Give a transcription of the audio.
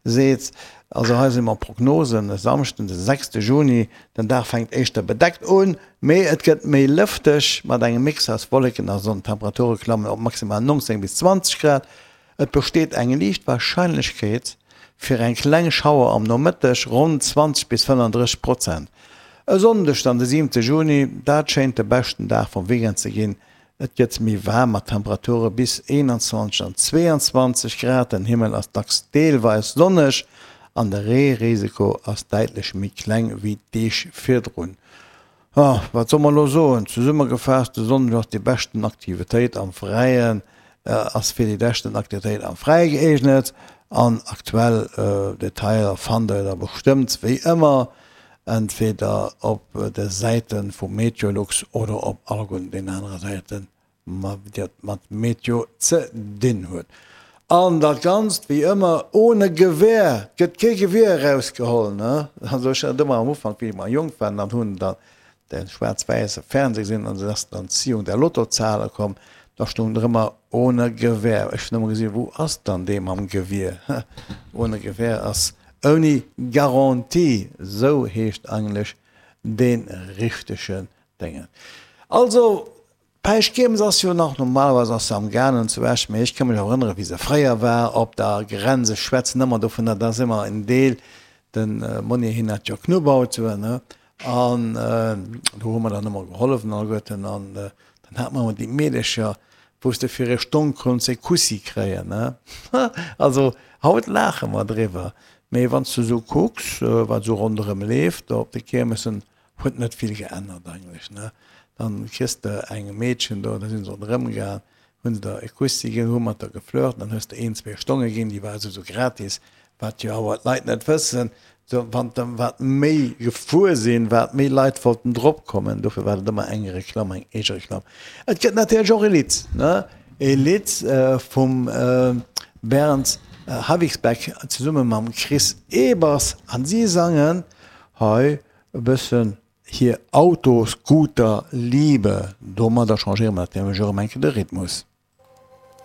Seet. Also hei si mer Prognosen, e Samschden de sechste Juni, den Dag fänkt éischter bedeckt un, mee et gëtt méi lëfteg mat engem Mix aus Wolleken a Sonn. D'Temperature klammen op maximal 19 bis 20 Grad. Et besteet eng liicht Warscheinlechkeet fir eng kleng Schauer am Nomëtteg, ronn 20 bis 35 Prozent. E Sonndeg dann de siwente Juni, dat schéint de beschten Dag vum Weekend ze ginn, Et gëtt méi waarm mat Temperature bis 21 an 22 Grad. Den Himmel ass dacks deelweis sonneg an de Reerisiko ass däitlech méi kleng wéi d'Deeg virdrun. Jo, wat soll mer elo soen? Zesummegefaasst, de Sonndeg ass déi beschten Aktivitéit am Fräien, ass fir déi beschten Aktivitéit am Fräie gëeegnet an aktuell Detailer fannt der da bestëmmt wéi ëmmer Entweder op de Säite vu Meteolux oder op alleguerten den anere Säiten, déi mat Meteo ze dinn huet. An dat Ganzt wéi ëmmer ohne Gewehr, et gëtt kee Gewier erausgeholl, ne? Also ech hat ëmmer am Ufank, wéi mer jonk waren, dann hunn dann de schwaarz-wäisse Fernseh gesinn an dann ass dann d'Ziehung der Lottozahlen komm, da stoung der ëmmer ohne Gewehr. Ech hunn ëmmer gesinn, wou ass dann dee mam Gewier? Ohne Gewehr ass Ouni Garantie, sou heescht eigentlech dee richtegen Déngen. Also, d'Päischtkiermes ass jo nach, normalerweis ass se am gaangen zu Esch, mee ech ka mech erënneren, wéi se fréier war op der Grenz. Ech schwätzen ëmmer dovunner, dat ass ëmmer en Deel, de Monni hien hat jo Knubbautoen, ne, an do hu mer dann ëmmer gehollef an alleguerten an dann hat mer ëmmer déi Meedecher, wou s de fir e Stonn konns e Kussi kréien, ne? Also, haut laache mer driwwer, mee wann s de esou kucks, wat esou ronderëm leeft do op de Kiermessen, huet net vill geännert eigentlech, ne? Dann kriss de eng Meedchen do, da si se ronderëm gaang, hu se der e Kussi ginn, hu mat der geflirt, dann hues de een, zwee Stonge ginn, déi war esou gratis, Wat jo awer d'Leit net wëssen, sou wann de wat méi gefuer sinn, wat méi Leit wollten drop kommen. Dofir war dat ëmmer eng Reklamm, eng Eegereklamm. Et gëtt natierlech och e Lidd, ne? E Lidd vum Bernd Havixbeck zesumme mam Chris Ebers an si sangen hei e bëssen hir Autoscooter-Liebe. Domadder changéiere mer natierlech och erëm eng Kéier de Rhythmus.